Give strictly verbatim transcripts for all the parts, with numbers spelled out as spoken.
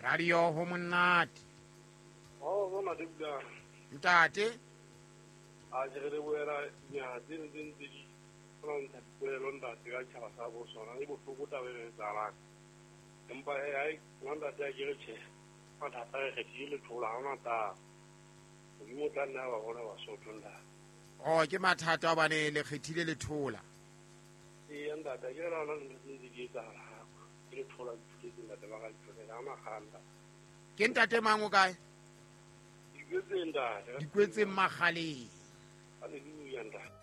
Radio ho monate. Oh, bona di bua. Ntate. A je re boela nya tse ntse ntse di ntsha dipolelo ntate ka tjhaba sa bo sona e bohloko taba e etsahalang. Empa ai ntate a ke re tjhe. Mathata re kgethile lethola ha ona taba. Modimo o tla nna ba bona Basotho ntate. Oh, ke mathata hobane le kgethile lethola. Ee ntate, ke re ona ntho tse ntse di etsahala. Ke lethola dithuletse ntate ba ka ditholela ha ona kganda. Ke ntate mang o kae? Dikwetseng ntate. Dikwetseng Makgaleng. Hallelujah ntate.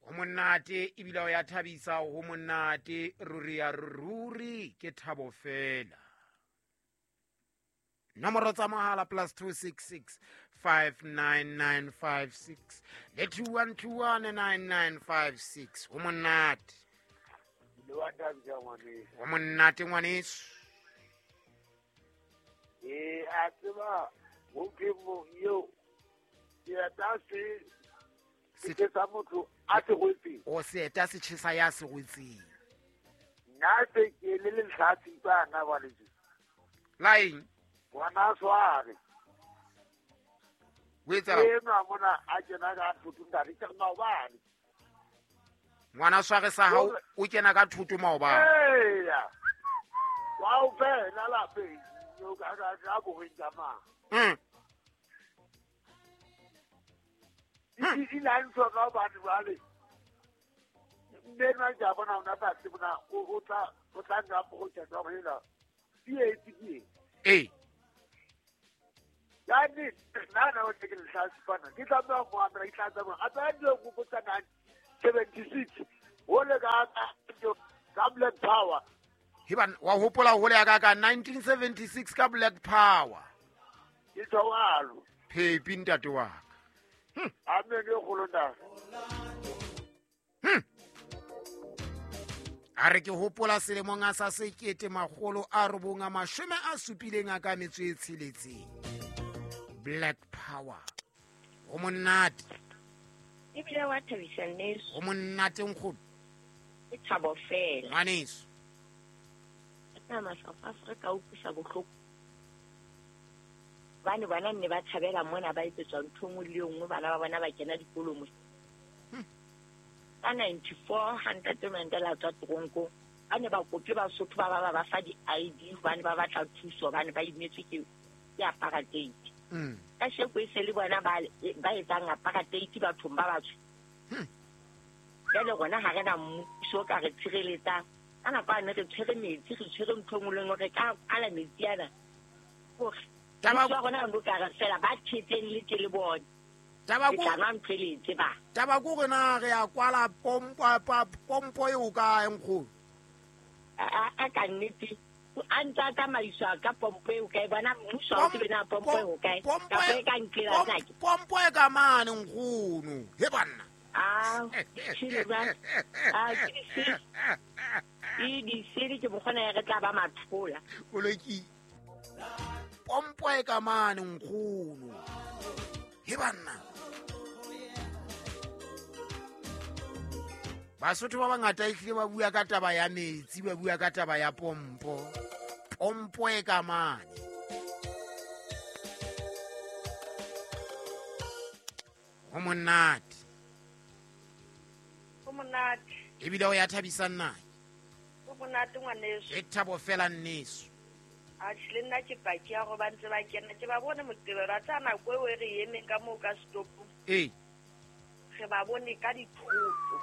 Ho monate ebile o ya thabisa, ho monate ruri ya ruri ke thabo fela. Nomoro tsa mohala plus two six six five nine nine five six le two one two one nine nine five six. Ho monate. Le wa thabisa ngwaneso. Ho monate ngwaneso. Eh, a tseba ho ke mo yo seeta se se sa motho a se rwetseng. O seeta se tjhesa ya se rwetseng. Nna se ke le lehlatsi bana ba le. La eng? Ngwana sware. O etsa Enwa mona a kena ka thoto ntate ke maobane. Ngwana sware sa hao o kena ka thoto maobane. Eya. Wa o fela lapeng o ka ka ka bo reng ka mang. Mm. Di la ntho ka batho ba le. Mme nna ke a bona ona ba se bona o tla o tla nna go tsa go hela. Di e tsi. Eh. Ya ni nna na o ke le tla sipana. Ke tla ba go amra ke tla tsa go. A tsa di go botsa seventy-six. O le ka ka Black Power. Hiban wa hopola ho le ya ka ka nineteen seventy-six ka Black Power. Ke tswalo. Phepi ntate wa ka. Hmm. Amen e kgolo ntate. Hmm. A re ke hopola selemong a sa sekete makgolo a robong a mashome a supileng a ka metso e tsheletseng. Black Power. Ho monate. Ebile wa thabisa nneso. Ho monate nkgono. Ke thabo fela. Ngwaneso. Nama South Africa o utlwisa bohloko. Bane bana nne ba thabela mona ba etsetswa ntho nngwe le nngwe, bana ba bona ba kena dikolo mo. Ka ninety-four hundred Mandela tswa tronko, ba ne ba kope Basotho ba ba ba ba fa di-I D hobane ba batla thuso hobane ba imetswe ke ke apartheid. Mm. Ka sheko e se le bona ba ba etsang apartheid bathong ba batsho. Mm. Jwale rona ha re na mmuso ka re tshireletsang. Ka nako ane re tshwere metsi, re tshwere ntho e nngwe le nngwe, re ka ala metsi ana. Hore Taba mmuso wa rona o ka re fela ba thetseng le ke le bone. Taba Ke ko tla nwa ntho e le tseba. Taba ko re na re ya kwala pompo pompo eo kae nkgono? A a ka nnete a ntse a tsamaiswa ka pompo eo kae, bona mmuso ha o tsebe na pompo eo kae. Kapa e ka nkela tsake. Pompo e ka mane nkgono. He banna. Ah, tshile ba. Ah, ke di E di sele ke mokgona ya re tla ba mathola. Koleki. Pompo e ka mane nkgono. He banna. Basotho ba bangata ehlile ba bua ka taba ya metsi, ba bua ka taba ya pompo. Pompo e ka mane. Ho monate. Ho monate. Ebile o ya thabisa nna. Ho monate ngwaneso. E thabo fela nneso. A tjhe le nna ke paki ya hore ba ntse ba kena, ke ba bone Moqebelo a tsa nako eo e re emeng ka moo ka stopong. Ee. Re ba bone ka dithoto.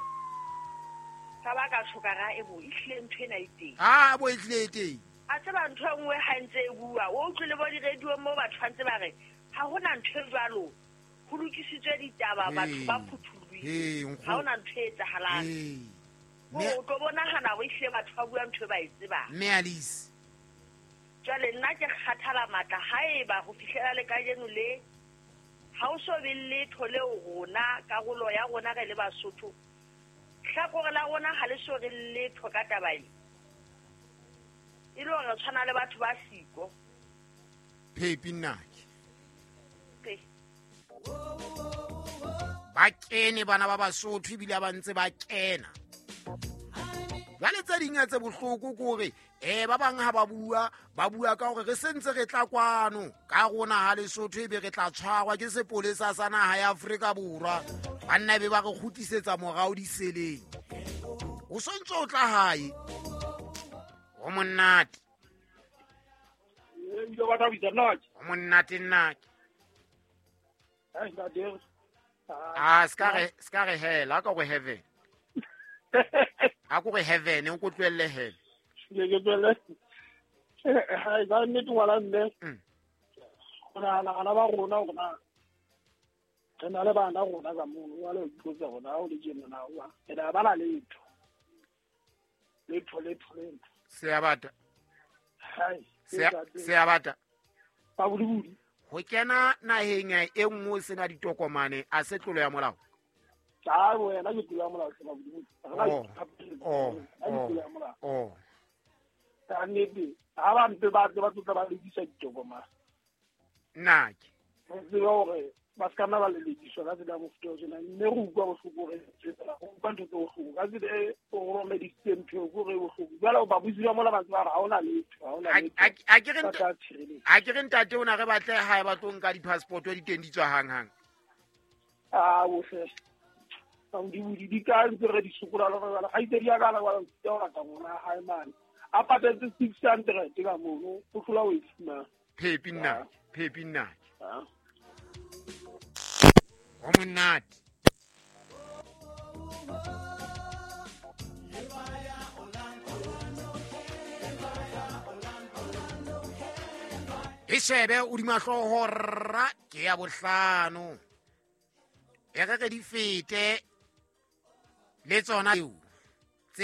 Ka ba ka tshoka ra e bo ehlile ntho ena e teng. Ah, bo ehlile e teng. A tseba ntho e nngwe ha ntse e bua, o utlwile bo di-radio moo batho ba ntse ba re ha hona ntho e jwalo. Ho lokisitswe ditaba, batho ba phuthulohile. Ha hona ntho e etsahalang. O tlo bonahana hore ehlile batho ba bua ntho e ba e tsebang. Mme Alice. Jwale nna ke kgathala matla haeba ho fihlela le kajeno le ha o so be letho leo rona karolo ya rona re le Basotho. Hlakore la rona ha le so re letho ka taba ena. E le hore re tshwana le batho ba siko. Phepi nnake. Ke. Ba kene bana ba Basotho ebile ba ntse ba kena. Jwale tse ding tse bohloko ke hore eh ba bang ha ba bua ba bua ka hore re sentse re tla kwano ka rona ha Lesotho ebe re tla tshwarwa ke sepolesa sa naha ya Afrika Borwa. Banna be ba re kgutlisetsa morao diseleng. O sontso o tla hae. Ho monate. Ho monate nna. Ah, ska re ska re hela ka go heaven. A go re heaven o go tlohelle hell. Ke ke tlohelle. Ha ba nnete ngwana mme. Go na na ba rona rona. Re na le bana rona ka mono wa le ipotsa rona o le tjena na wa. Re na ba la letho. Letho letho letho. Se a bata. Hai. Se a bata. Ba budibudi. Ho kena naheng e nngwe sena ditokomane a se tlolo ya molao. Cha wena ke tlolo ya molao se ba budibudi. Oh oh oh. Ta nnete ha ba mpe ba ba tlotla ba lekisa ditokomane. Nna ke. Re tsebe hore ba ska nna ba lelekiswa ka tsela ya mofuta o tjena mme re utlwa bohloko re tsela go utlwa ntho tse bohloko ka tsela e o romedisitse ntho eo ke re bohloko. Jwale babusi ba mola ba tseba hore ha hona letho ha hona letho. A ke re a ke re ntate ona re batle hae ba tlo nka di-passport di teng di tswa hang hang. Ah bohle. Ba di di ka ntse re di sokola le re ga itse di ya kana wa ntse o rata ngwana hae mane. A patetse six hundred ka mono o hlola o e fumana. Phepi nna, phepi nna. Ah. Ho monate. E shebe o di mahloho rra ke ya bohlano. E re re di fete le tsona eo.